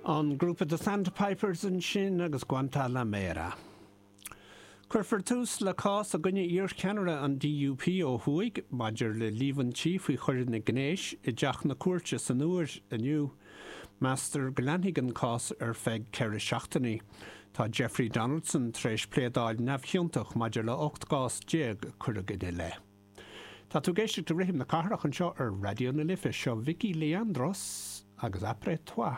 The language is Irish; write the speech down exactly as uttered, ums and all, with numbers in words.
An grúpa The Sandpipers ansin agus Guantanamera. Cuirfear tús le cás i gcoinne iarcheannaire an DUP ó thuaidh maidir le líomhaintí faoi choireanna gnéis i dteach na cúirte san Iúr inniu. Meastar go leanfaidh an cás ar feadh ceithre seachtainí. Tá Jeffrey Donaldson tar éis pléadáil neamhchiontach maidir le ocht gcás déag a cuireadh ina leith. Tá tú ag éisteacht le Rithim na Cathrach anseo ar Raidió na Life seo Vicky Leandros agus Après Toi.